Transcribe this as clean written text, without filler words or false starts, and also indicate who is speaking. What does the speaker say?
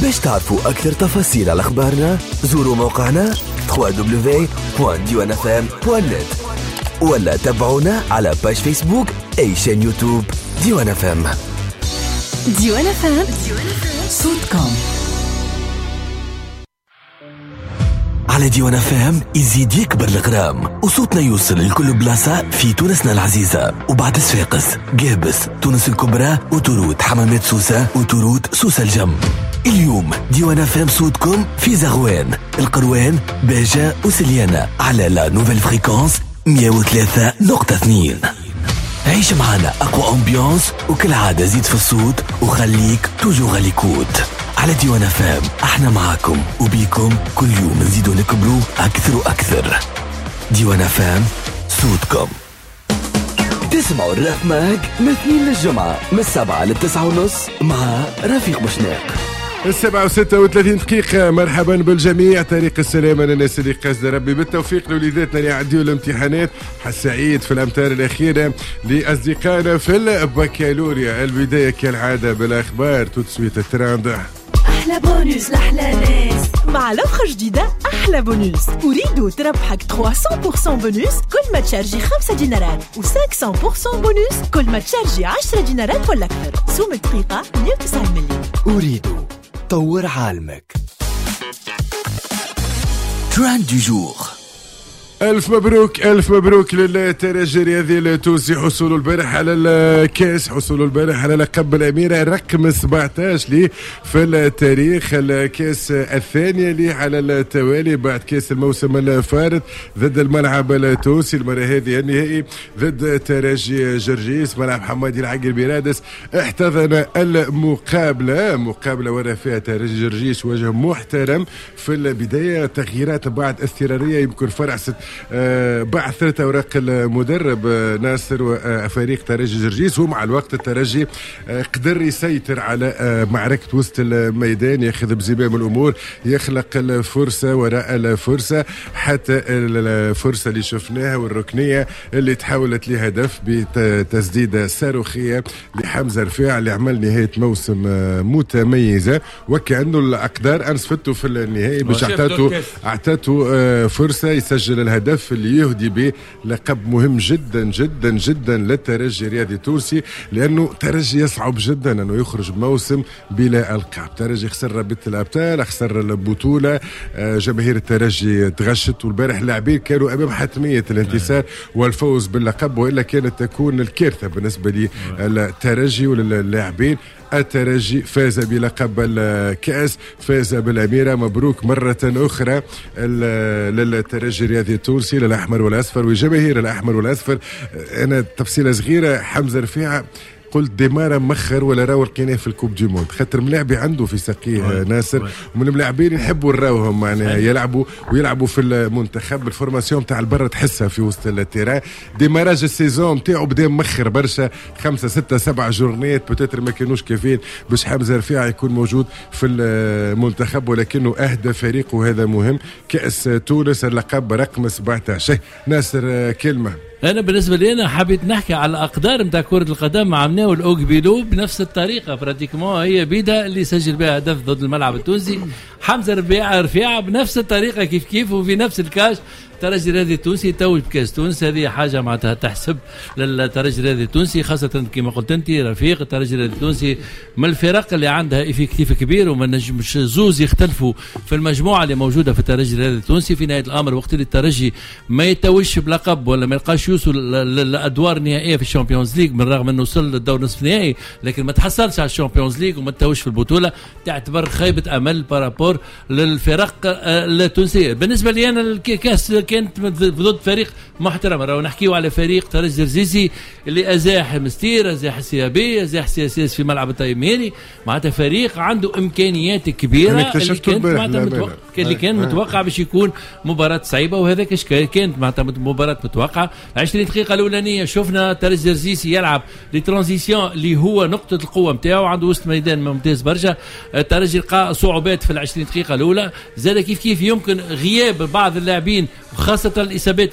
Speaker 1: باش تعرفوا أكثر تفاصيل على أخبارنا زوروا موقعنا www.diwanfm.net ولا تابعونا على page Facebook et chaîne YouTube ديوان FM.
Speaker 2: ديوان FM، صوتكم.
Speaker 1: على ديوان FM يزيد يكبر الغرام وصوتنا يوصل لكل بلاصة في تونسنا العزيزة، وبعد صفاقس، قابس، تونس الكبرى، autoroute حمامات سوسة، autoroute سوسة الجم. اليوم ديوان FM صوتكم في زغوان، القروان، باجة وسليانة على la nouvelle fréquence 103.2. عيش معنا أقوى ambiance وكالعادة زيد في الصوت وخليك toujours à l'écoute على ديوان FM. احنا معاكم وبيكم كل يوم نزيدو نكبرو أكثر وأكثر. ديوان FM صوتكم. تسمعوا الراف ماك من 2 للجمعة من 7 ل9:30 مع رفيق بوشناق.
Speaker 3: 7:36. مرحبا بالجميع، طريق السلامة للناس اللي قصد ربي، بالتوفيق لوليداتنا اللي يعديوا الامتحانات. حسعيد في الأمتار الأخيرة لأصدقائنا في البكالوريا. البداية كالعادة بالأخبار، tout de suite ال trend.
Speaker 2: أحلى بونوس لأحلى ناس مع l'offre جديدة. أحلى بونوس أريد تربحك 300% بونوس كل ما تشارجي 5 دينارات و 500% بونوس كل ما تشارجي 10 دينارات ولا أكثر. سوم الدقيقة 109 مليون.
Speaker 1: أريد طور عالمك. trend du jour.
Speaker 3: ألف مبروك، ألف مبروك للترجي الرياضي التونسي، حصوله البارح على الكاس، حصوله البارح على لقب الأميرة رقم 17 ليه في التاريخ، الكاس الثانية ليه على التوالي بعد كاس الموسم الفارط ضد الملعب التونسي، المرة هذه النهائي ضد ترجي جرجيس. ملعب حمادي العقربي برادس احتضن المقابلة، مقابلة ورا فيها ترجي جرجيس وجه محترم في البداية، تغييرات بعد اضطرارية يمكن فرعست بعثرة أوراق المدرب ناصر وفريق ترجي جرجيس، ومع الوقت الترجي قدر يسيطر على معركة وسط الميدان، ياخذ بزمام الأمور، يخلق الفرصة وراء الفرصة، حتى الفرصة اللي شفناها والركنية اللي تحولت لهدف بتسديدة صاروخية لحمزة رفيع اللي عمل نهاية موسم متميزة، وكأنه الأقدار أنصفته في النهائي باش أعطته فرصة يسجل الهدف اللي يهدي به لقب مهم جدا جدا جدا للترجي الرياضي التونسي، لانه ترجي يصعب جدا انه يخرج بموسم بلا القاب. ترجي خسر رابطه الابطال، خسر البطولة، جماهير الترجي تغشت، والبارح اللاعبين كانوا امام حتمية الانتصار والفوز باللقب، والا كانت تكون الكارثة بالنسبة للترجي وللاعبين. الترجي فاز بلقب الكأس، فاز بالأميرة، مبروك مرة أخرى للترجي الرياضي التونسي، للأحمر والأصفر وجماهير الأحمر والأصفر. أنا تفصيلة صغيرة، حمزة رفيعة قلت démarra مخر ولا راهو لقيناه في ال coupe du monde، خاطر ملاعبي عنده في ساقيه ناصر، ومن الملاعبين يحبوا نراوهم معناها يلعبوا ويلعبوا في المنتخب، ال formation تاع البرة تحسها في وسط ال terrain. démarrage ال saison تاعو بدا مخر برشا، 5 6 7 جورنيات peut-être ما كانوش كافيين باش حمزة رفيعة يكون موجود في المنتخب، ولكنه اهدى فريقه وهذا مهم. كأس تونس اللقب رقم 17. ناصر كلمة.
Speaker 4: انا بالنسبة لي انا حبيت نحكي على الاقدار نتاع كره القدم. عملناه الاوكبيلو بنفس الطريقة pratiquement، هي بيدا اللي سجل بها هدف ضد الملعب التونسي، حمزة رفيعة بنفس الطريقة كيف كيف وفي نفس الكاش. الترجي الرياضي التونسي توج بكاس تونس، هذه حاجة معناتها تحسب للترجي الرياضي التونسي، خاصة كما قلت انت رفيق، الترجي الرياضي التونسي من الفرق اللي عندها effectif كبير وما نجمش زوز يختلفوا في المجموعة اللي موجودة في الترجي الرياضي التونسي. في نهاية الامر وقت اللي الترجي ما يتوجش بلقب ولا ما يلقاش يوصل للادوار النهائية في ال Champions League، من رغم انه وصل للدور نصف النهائي لكن ما تحصلش على ال Champions League وما تتوجش في البطولة، تعتبر خيبه امل par rapport للفرق التونسية. بالنسبة لي انا الكاس كانت ضد فريق محترم، راهو نحكيو على فريق ترجي الجرجيسي اللي ازاح مستير، ازاح CAB، ازاح CSS في ملعب التيميري، معناتها فريق عنده امكانيات كبيرة اللي كان متوقع باش يكون مباراة صعيبة، وهذاك كانت معناتها مباراة متوقعه. 20 دقيقة الاولانية شفنا ترجي الجرجيسي يلعب les transitions اللي هو نقطة القوة نتاعو، عنده وسط ميدان ممتاز برشا. الترجي لقى صعوبات في ال 20 دقيقة الاولى، زاد كيف كيف يمكن غياب بعض اللاعبين وخاصة الاصابات.